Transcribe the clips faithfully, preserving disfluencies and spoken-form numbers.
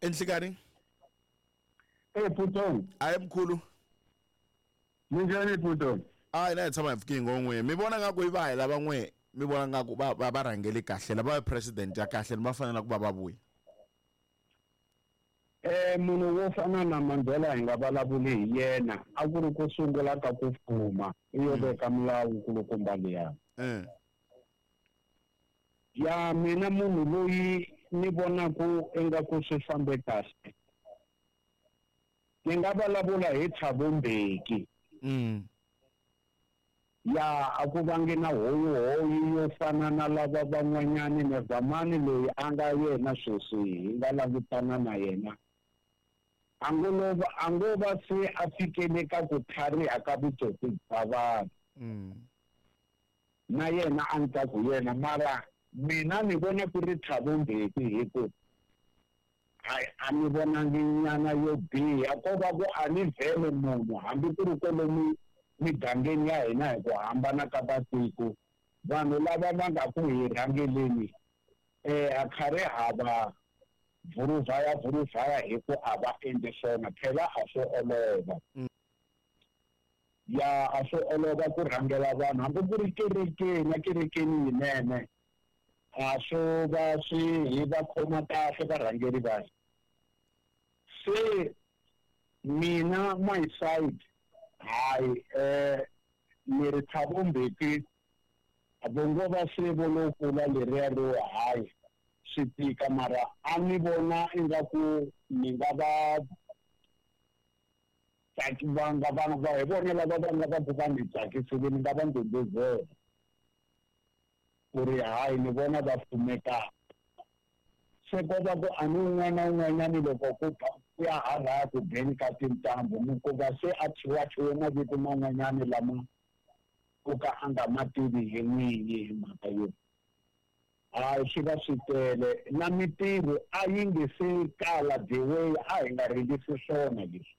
Enhlikani? Eh Putong. Ayi mkhulu. Minjhani Putong? Ayi na hi tshama hi pfuki ngon'we. Mi vona nga ku i va hi lava n'we, mi vona nga ku va va va rhangele kahle, lava president ya kahle va fanele ku va va vuya. Eh munhu wo fana na Mandela hi nga vulavuli hi yena, a ku ri ku sungula ka ku fuma, i yo veka milawu kulukumba liya. Eh. Ya mina munhu loyi ni vonaku ingaku swi fambe kahle, ni nga vulavula hi Thabo Mbeki. Mm. Ya a ku vangi na hoyihoyi yo fana na lava van'wanyani na zamani loyi a nga yena sweswi hi nga langutana na yena. A ngo lova, a ngo va se a fikele ka ku tlhariha ka vutsotsi bya vanhu. Mm. Na yena a ni ta ku yena, mara mina ni vona ku ri Thabo Mbeki hi ku hayi a ni vonangi nyana yo biha, ko va ku a ni vhele munhu hambi ku ri kwalomu migangeni ya hina hi ku hambana ka matiko, vanhu lava va nga ku hi rhangeleni eh a khare hava vuruvhaya vuruvhaya hi ku a va endli swona, phela a swo olova. Ya a swo olova ku rhangela vanhu hambi ku ri kerekeni, kerekeni yinene a swo va swi hi va khoma kahle varhangeri va hina. Se mina my side hayi eh ni ri Thabo Mbeki a vo ngo va se vo lo kula leriya ro hayi swi tika, mara a ni vona ingaku ni nga va tsaki va nga vana va hi vona lava va nga va ku va ni tsakisile, ni nga va ndhundhuzela ku ri hayi ni vona va pfumeka. Se ko va ku a ni un'wana na un'wanyani loko ku ku ya hala ku beni ka tintambu mi kuma se a thyiwa mavito man'wanyani lama ku ka a nga ma tivi hi n'winyi hi mhaka yo hayi swi va swi tele na mintirho a yi nge se kala the way a hi nga ringisi swona leswi.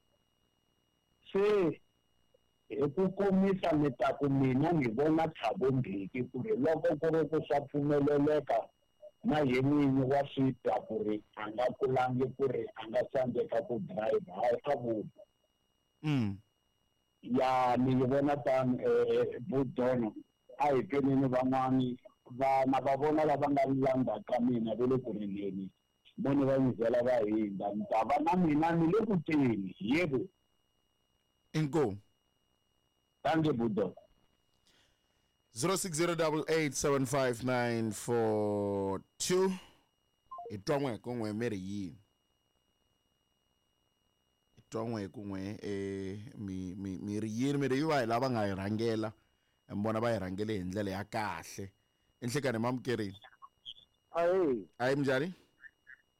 Se hi ku komisa ni ta ku mina ni vona Thabo Mbeki ku ri loko ku ri ku swa pfumeleleka na ye n'winyi wa swi twa ku ri a nga kulangi ku ri a nga tsandzeka ku drive, hayi a vula. Mm. Ya ni yi vona tano eh Budono a hi peneni van'wani vana va vona lava nga landza ka mina va le ku rileni, vone va nyizela va hindza, ni ta va na mina ni le ku teni yebo. Inkomu. Thank you Budono. zero six zero double eight seven five nine four two. I twa n'we ku n'we mi ri yini? I twa n'we ku n'we eh mi mi mi ri yini? Mi ri yi va hi lava nga hi rhangela, mi vona va hi rhangele hi ndlela ya kahle. Enhlekani mamukerini. Ayi. Ayi minjhani?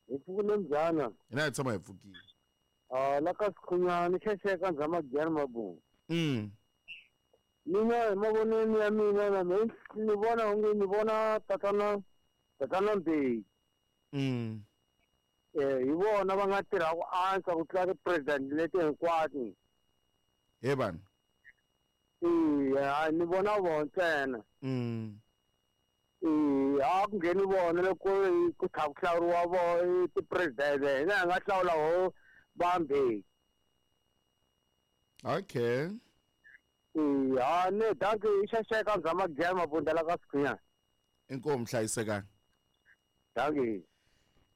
Hi pfukile mbyana. Hina hi tshama hi pfukile. Ah la ka Sikhunyani xexeka ndzhama Giyani Mabunda. Mm. Mina hi mavonelo ya mina na mina ni vona onge ni vona tatana tatana Mbeki. Mm. Eh hi vona va nga tirha ku antswa ku tlula ti-president leti hinkwato. He vanhu. Eh ni vona vona ntsena. Mm. Eh a ku ngheni vona loko ku tlha ku hlawuriwa vo ti-president, hina hi nga hlawula ho va Mbeki. Okay. Eh ha ne danke i xexeka ndzhama Giyani Mabunda la ka Sikhunyani. Inkomu hlayisekani. Danke.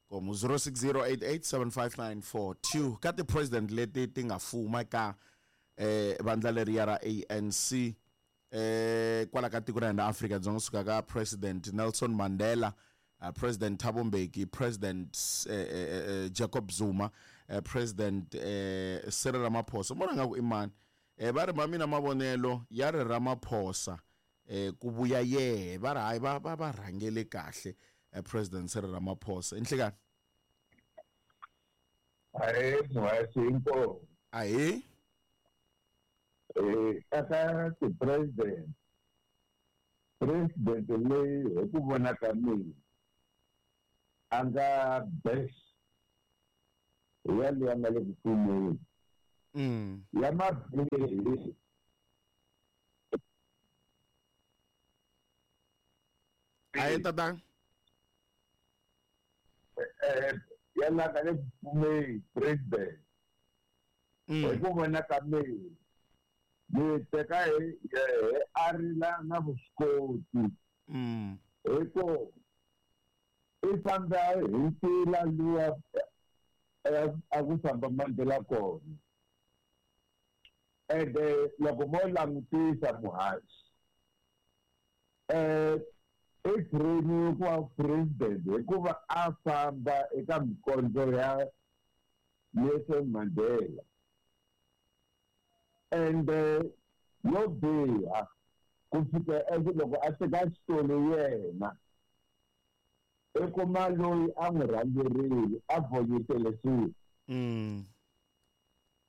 Komu zero six zero eight eight seven five nine four two ka ti-president leti ti nga fuma ka eh vandla leriya ra A N C eh kwala ka tiko ra hina Afrika Dzonga, suka ka President Nelson Mandela, uh, President Thabo Mbeki, President eh, eh, Jacob Zuma, eh, President eh, Cyril Ramaphosa. Vona nga ku i mani? Eh va ri ma mina mavonelo ya ri Ramaphosa eh ku vuya yehe, va ri hayi va va va rhangele kahle eh, President Cyril Ramaphosa. Enhlekani. Ahe muhasi inkomu. Ahe. Eh aka ti-president, president leyi hi ku vona ka mina a nga best hi ya leyi a nga le ku fumeni. Mm. Ya mabirhi Ahe tatana. Eh ya la nga le ku fumeni president hi ku vona ka mina ni teka hi yehe a ri na na vuswikoti hi ku i famba hi ntila luwa a ku famba Mandela kona ende loko mo langutisa muhaxi eh i trainiwe ku va president hikuva a famba eka mikondzo ya Nelson Mandela ende yo biha ku fika loko a teka xitulu yena i kuma loyi a n'wi rhangerile a vhonyetele swilo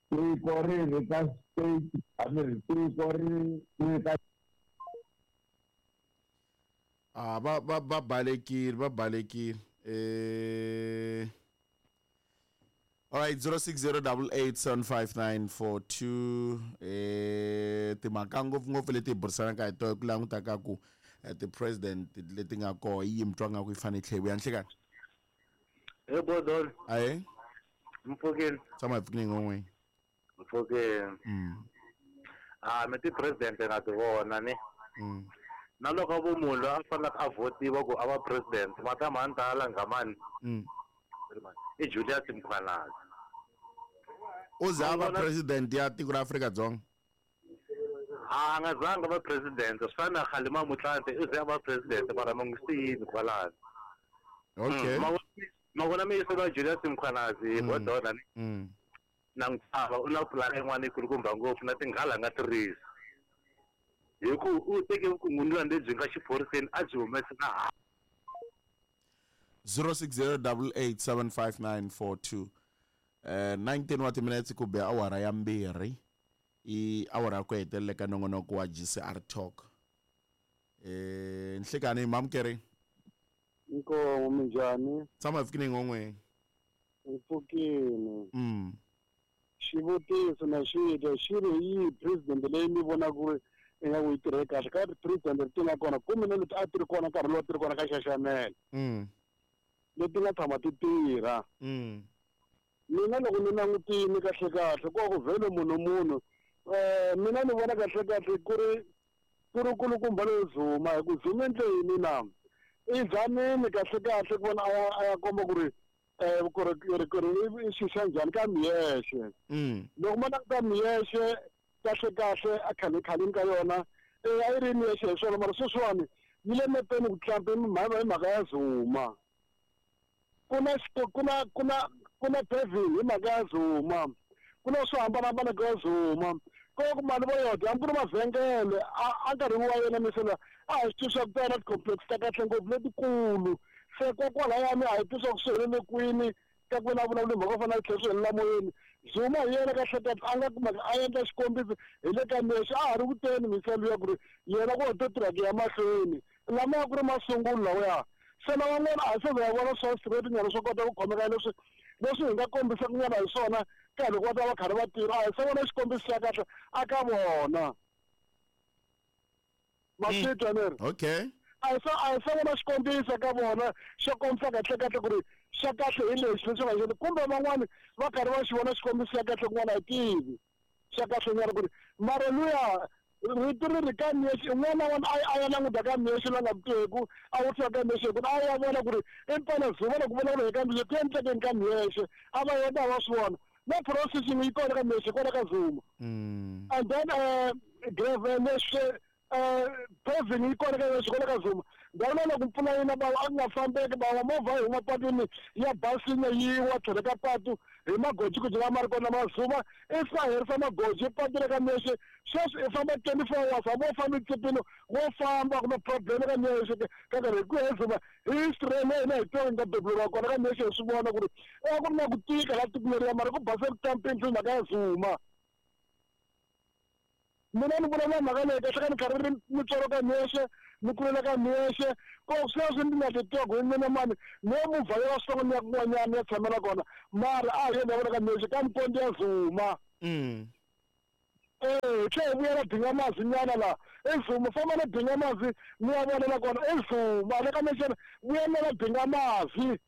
tiko ri ri ka state a mi ri tiko ri ri ka ah va va va balekile va balekile eh all right zero six zero eight eight seven five nine four two eh timhaka ngopfungopfu leti hi burisanaka hi tona ku languta ka ku ti-president leti nga kona yi mi twa nga ku yi fanele yi tlhela yi vuya nhlekani he bodol ahe mpfukeni tshama hi pfukini n'we mpfukeni mm ah mi ti-president nga ti vona ni mm na loko vo munhu loyi a faneleke a votiwa ku a va president matama a ni ta ala ngamani mm i Julius Mkhwanazi u za va president ya tiko ra Afrika-Dzonga a nga zanga va president swi fana na Kgalema Motlanthe i ze a va president mara ma n'wi siyini kwalano okay ma vona mi yisela Julius Mkhwanazi bodona ni mm na n'wi chava u na pulani yin'wana yikulukumba ngopfu na tinghala nga tirhisi hi ku u teke vukungundzwana lebyi nga xiphoriseni a byi humesi na ha zero six zero eight eight seven five nine four two eh nineteen wa timinetse ku be awara ya mbirhi i awara ya ku hetelela ka nongonoko wa G C R Talk eh nhlekani mamukeri Inkomo minjhani tshama hi pfukini n'we mpfukini mm xivutiso na xi twa xi ri yi president leyi mi vona ku ri ingaku yi tirhe kahle ka president leti nga kona kumbe na leti a ti ri kona nkarhi lowu a ti ri kona ka xaxamela mm leti nga tshama ti tirha mm mina loko ni langutile kahle kahle ko ku vhele munhu munhu eh mina ni vona kahle kahle ku ri ku ri kulukumba loyi Zuma hi ku Zuma endle yini na i zamile kahle kahle ku vona a ya a ya komba ku ri eh ku ri ku ri ku ri i xixa njhani ka miyexe mm loko ma languta miyexe kahle kahle a khale khaleni ka yona eh a yi ri miyexe hi swona mara sweswiwani yi le mepeni ku tlampa hi mhaka ya Zuma ku na ku na ku na ku na paving hi mhaka ya Zuma ku na swo hambanahambana ka Zuma ko ku mali vo yodya hambi ku ri mavhengele a nkarhini wa yena misela a hi swi tivi swa ku ta na ti-complex ta kahle ngopfu letikulu se kokwalahayani a hi tivi swa ku swi helele kwini ka ku na vulavula mhaka yo fana na tlhela swi helela moyeni Zuma hi yena kahle kahle a nga kumeka a endla xikombiso hi le ka mexe a ha ri ku teni miselo ya ku ri yena ku to tirha ku ya mahlweni lama ya ku ri masungulo lawaya se lavan'wana a hi se za ya vona swa straight nyana swo kota ku khomeka leswi leswi hi nga kombisaka nyana hi swona ka loko va ta va karhi va tirha a hi se vona xikombiso xa kahle a ka vona ma swi twa ni ri okay a hi se a hi se vona xikombiso ka vona xo kombisa kahle kahle ku ri xa kahle hi lexi lexi nga xona kumbe van'wani va karhi va xi vona xikombiso xa kahle kun'wana a hi tivi xa kahle nyana ku ri mara luya rito ri ri ka miyexe un'wana na un'wana a ya languta ka miyexe la nga tiku a vutisa ka miyexe ku a ya vona ku ri impela Zuma loko vulavula hi ka miyexe ku endlekeni ka miyexe a va yena va swi vona na processing yi kona ka miyexe kona ka Zuma and then uh, gravel leswi uh, paving yi kona ka miyexe kona ka Zuma ndhawu na loko mpfula yi na bawa a ku nga fambeki bawa movha yi huma patwini ya basini yi wa tlhelo ka patu hi magojigoji lama ri kona ma Zuma i fa herisa magoji patu le ka miyexe sweswi i famba twenty four hours hambi wo famba etsipini wo famba kumbe problem ka miyexe ka nkarhi hi ku he Zuma history leyi hina hi twa nga beburiwa kona ka miyexe hi swi vona ku ri a ku ri na ku tika la tiko leriya mara ku base ku kampeni swi mhaka ya Zuma mina ni vulavula mhaka leyi kahle ka ni karhi ri ni tswalo ka miyexe ni kulela ka miyexe ko sweswi ni nga titwaku hi mina mani no movha ya swin'wana ni ya kun'wanyana ni ya tshamela kona mara a hi yena vona ka miyexe ka mikondzo ya Zuma mm eh tlhe hi vuyela Dingamazi nyana la i Zuma famba na Dingamazi ni ya vonela kona i Zuma le ka miyexe vuyelela Dingamazi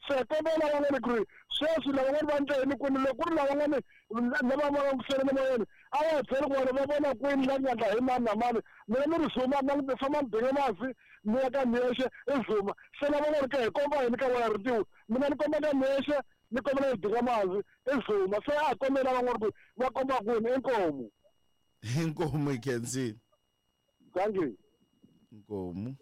Se kombela van'wani ku ri sweswi lavan'wani va ndla yini kwini, loko ku ri lavan'wani lava va langutisele na moyeni a va byeli ku vona va vona kwini la nga ndla hi mani na mani. Mina ni ri Zuma na famba ni dinga masi ni ya ka Miyexe i Zuma. Se lavan'wani ka hi komba yini ka wena ritiwi, mina ni komba ka Miyexe ni kombela ni dinga masi i Zuma. Se a hi kombela van'wani ku va komba kwini. Inkomu. Inkomu hi khensile. Thank you. Inkomu.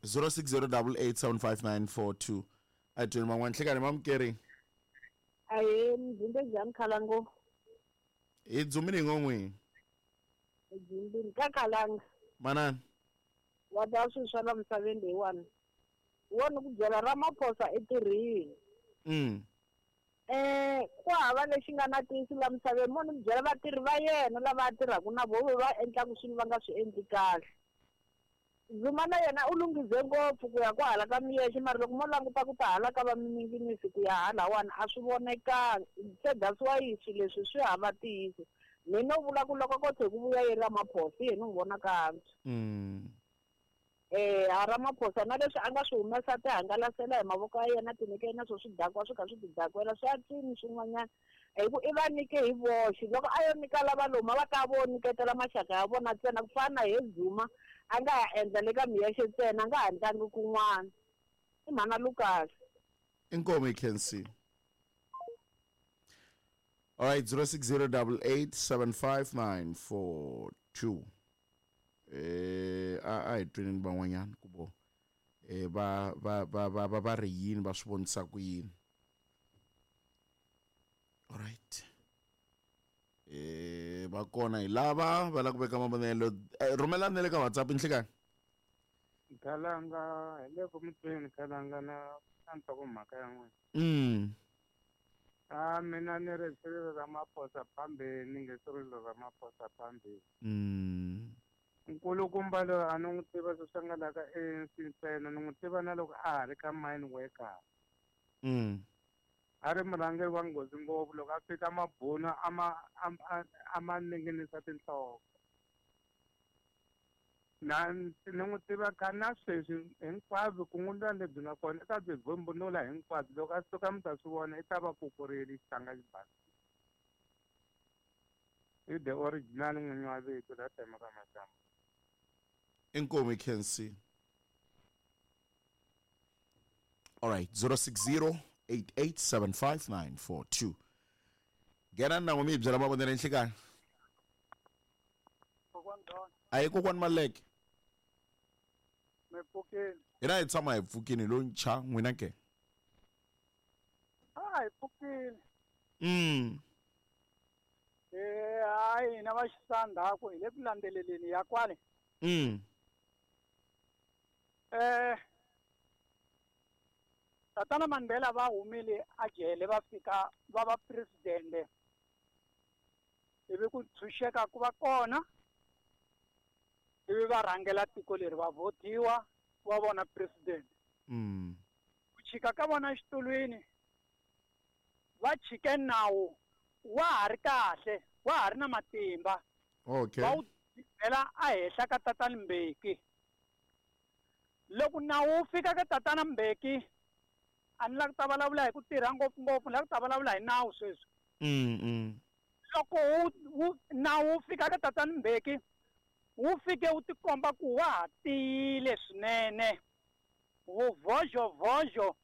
zero six zero double eight seven five nine four two. A twini man'wana nhlekani mamukeri. Ahee, mdzimbe njhani Khalango? Hi dzumini hi ngo n'wini. Dzimbini ka Khalanga. Manani. Wa ta swilo swa la misaveni leyiwani. Wona ku byela Ramaphosa i tirhile. Mm. Eh, ku hava lexi nga na ntiyiso la misaveni, mo ni byela vatirhi va yena lava a tirhaka na voho va endlaka swilo va nga swi endli kahle. Zuma na yena u lunghize ngopfu ku ya kwahala ka Miyexe, mara loko mo languta ku ta hala ka va mininginisi ku ya halawani a swi vonekangi. Se that's why swilo leswi swi hava ntiyiso. Mina no vula ku loko ko tlhe ku vuya yi Ramaphosa hi yena ni n'wi vona ka antswa. Mm. Eh, a Ramaphosa na leswi a nga swi humesa ti hangalasela hi mavoko ya yena ti nyike na swo swi dakwa swi kha swi ti dakwela swi antswini swin'wanyana, hi ku i va nyike hi voxe. Loko a yo nyika lava loma va ta vo nyiketela maxaka ya vona ntsena, ku fana na he Zuma a nga ha endla le ka Miyexe ntsena, a nga ha endlangi kun'wana. I mhana Lucas. Inkomu hi khensile. All right, zero six zero double eight seven five nine four two. Eh, a a hi twinini van'wanyana ku vo eh va va va va va va ri yini, va swi vonisa ku yini. All right. Eh va kona hi lava va lava ku veka mavonelo. Rhumelani na le ka WhatsApp nhlekani. Khalanga hi le ku mutweni Khalanga na na nhlokomhaka ya n'wina. Mm. A mina ni ri Cyril Ramaphosa phambili, ni nge Cyril Ramaphosa phambili. Mm. Nkulukumba loyi a ni n'wi tiva sweswi a nga la ka A N C ntsena, ni n'wi tiva na loko a ha ri ka mine worker. Mm. A ri murhangeri wa nghozi ngopfu, loko a fika mabunu a ma, a, a, a ma ninginisa tinhloko. Na ni n'wi tiva ka na sweswi hinkwabyo kun'wana lebyi nga kona i ta byi vumbunula hinkwabyo, loko a suka mi ta swi vona i ta va kukurile xitanga xi basa. I the original n'winyi wa vito la temaka maxamba. Inkomu Kensi. All right, zero six zero eight eight seven five nine four two. Ngena na n'wi mi byela mavonelo enhlekani. A hi kokwani Maleke. Mi pfukile. Hina hi tshama hi pfukile lo ncha n'wina ke. A hi pfukile. Mm. Eh, hayi hina va xisandhaku hi le ku landzeleleni ya kwale. Mm. Eh, Tatana Mandela va humile a jele va fika va va president. Ivi ku tshunxeka ku va kona. Ivi va rhangela tiko leri va votiwa va vona president. Mm. Ku chika ka vona xitulwini va chike nawu wa ha ri kahle, wa ha ri na matimba. Okay. Va wu byela a henhla ka Tatana Mbeki. Loko nawu wu fika ka Tatana Mbeki, a ni lava ku ta vulavula hi ku tirha ngopfungopfu, ni lava ku ta vulavula hi nawu sweswi. Mm, mm. Loko wu, wu, nawu wu fika ka Tatana Mbeki, wu fike wu tikomba ku wa ha tiyile swinene. Vuvhozhovhozho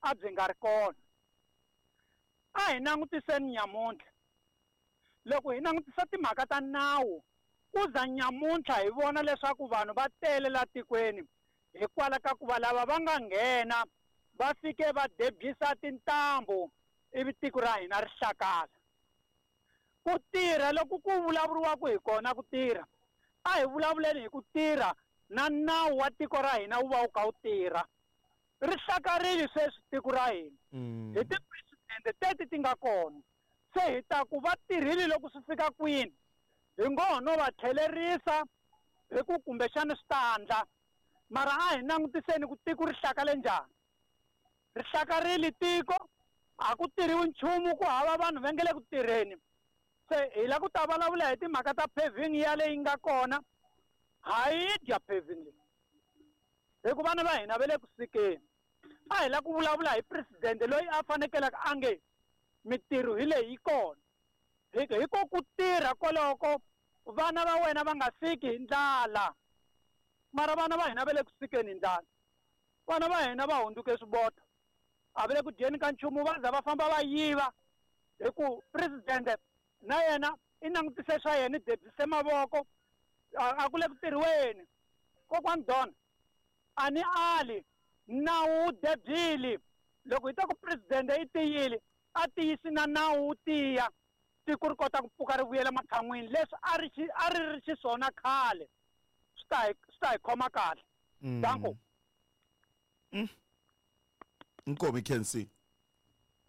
a byi nga ri kona. A hi langutiseni nyamuntlha. Loko hi langutisa timhaka ta nawu, ku za nyamuntlha hi vona leswaku vanhu va tele la tikweni hikwalaho ka ku va lava va nga nghena va fike va debyisa tintambu ivi tiko ra hina ri hlakala. Ku tirha loko ku vulavuriwaka hi kona ku tirha, a hi vulavuleni hi ku tirha na nawu wa tiko ra hina wu va wu kha wu tirha. Ri hlakarile sweswi tiko ra hina. Mm. Hi ti-president teti ti nga kona. Se hi ta ku va tirhile loko swi fika kwini, hi ngo ho no va tlhelerisa hi ku kumbexana swi ta andla. Mara a hi langutiseni ku tiko ri hlakale njhani. Ri hlakarile tiko, a ku tirhiwi nchumu, ku hava vanhu va nge le ku tirheni. Se hi lava ku ta vulavula hi timhaka ta paving ya leyi nga kona. Ha yi dya paving leyi. Hi ku vana va hina va le ku sikeni. A hi la ku vulavula hi presidente loyi a fanekelaka a nge mitirho hi leyi yi kona. Hi hi ko ku tirha koloko vana va wena va nga siki hi ndlala. Mara vana va hina va le ku sikeni hi ndlala. Vana va hina va hundzuke swiboto. A va le ku dyeni ka nchumu, va za va famba va yiva. Hi ku presidente na yena i langutise swa yena, i debyise mavoko, a ku le ku tirhiweni. Kokwani Don, a ni ali nawu wu debyile. Loko hi ta ku presidente i tiyile, a tiyisi na nawu wu tiya, tiko ri kota ku pfuka ri vuyela matshan'wini leswi a ri xi a ri ri xiswona khale. Swi ta hi swi ta hi khoma kahle. Danko. Nkomi Kensi.